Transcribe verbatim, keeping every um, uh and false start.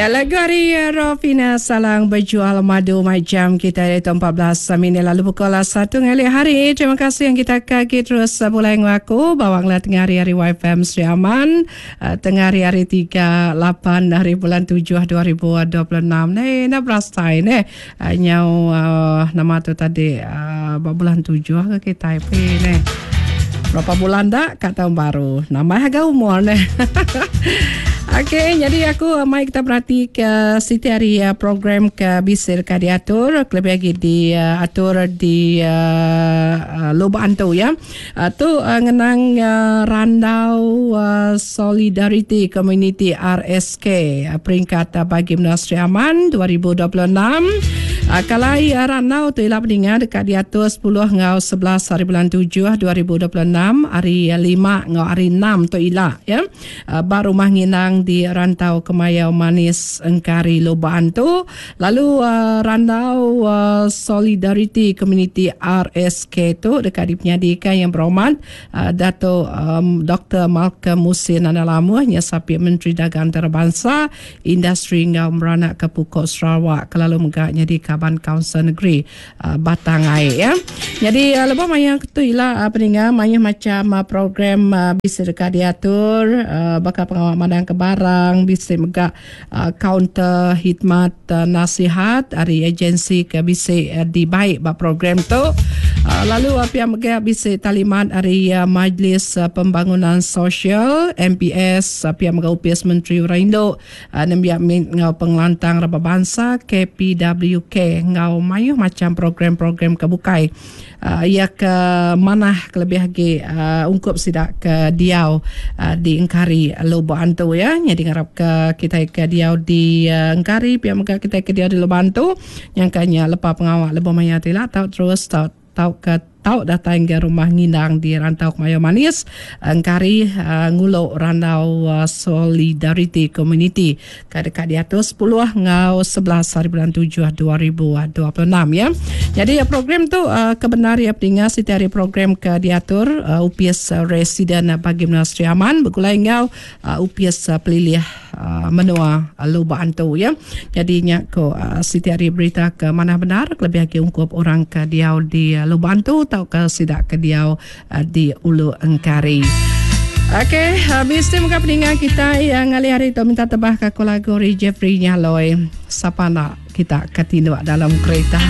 Ya, lagu ari Rofina Salang Bejual Madu macam kita dari empat belas minit lalu pukul satu ngalih hari. Terima kasih yang kita kaki terus mulai ngaku bawang lah tengah hari hari Y F M Sri Aman tengah hari hari tiga lapan hari bulan tujuh dua ribu dua puluh enam ni nak berasai ni nyau nama tu tadi bulan tujuh ke kita ni. Berapa bulan dah kat tahun baru. Nama harga umur ni. Okey, jadi aku mai kita berhati ke siti hari program ke bisir ke diatur, lebih lagi diatur di uh, Lubuk Antu ya. Uh, tu uh, ngenang uh, Randau uh, Solidarity Community R S K uh, peringkat uh, bagi Menua Sri Aman dua ribu dua puluh enam. Uh, kalai uh, Randau tu ialah peninggal dekat diatur sepuluh ngau sebelas hari bulan tujuh dua ribu dua puluh enam hari lima ngau hari enam tu ilah ya. Uh, bar rumah nginang di Rantau Kemayau Manis Engkari Lubuk Antu. Lalu uh, Randau uh, Solidarity Community R S K tu dekat dipenyadikan yang berhormat uh, Dato' um, Doktor Malcolm Musin Analamuh nya sapi Menteri Dagang Antarabangsa Industri ngau meranak ke Pukul Sarawak kelalu megaknya di Kaban Kaunsil Negeri uh, Batang Ai ya. Jadi uh, lebih maya tu ialah uh, peninggal maya macam uh, program uh, bisa dekat diatur uh, bakal pengawal madang ke barang bisa megak uh, kaunter khidmat uh, nasihat dari agensi ke bisa uh, dibaik bab program tu. Uh, lalu uh, pihak megak bisa talimat dari uh, Majlis uh, Pembangunan Sosial M P S uh, pihak megak U P S Menteri Uraindo uh, nembiak ngau pengelantang raba bangsa K P W K ngau mayuh macam program-program kebukai uh, ia ke manah kelebih lagi uh, ungkup sidak ke diau uh, di Engkari Lubuk Antu ya. Jadi ngarap ke kita ke diau di uh, Engkari pihak megak kita ke diau di Lubuk Antu yang kanya lepa pengawal lebih maya tila tau terus tau tau ke tau datang ke rumah ngindang di Rantau Kemayau Manis Engkari uh, nguluk Rantau uh, Solidarity Community ke dekat di atas sepuluh ngau sebelas hari bulan tujuh dua ribu dua puluh enam ya. Jadi uh, program tu uh, kebenar ya pendengar setiap hari program ke diatur uh, U P S uh, Residen uh, bagi Menua Sri Aman bergulai ngau uh, U P S uh, Pelilih uh, Menua uh, Lubuk Antu ya. Jadi nya ko uh, setiap hari berita ke mana benar lebih lagi ungkup orang ke diau di uh, Lubuk Antu atau ke sidak ke diau uh, di Ulu Engkari. Okey, habis tu muka peninggal kita yang ngalih hari tu minta tebah ke lagu Jeffrey Nyaloi. Siapa nak kita ketinduk dalam kereta.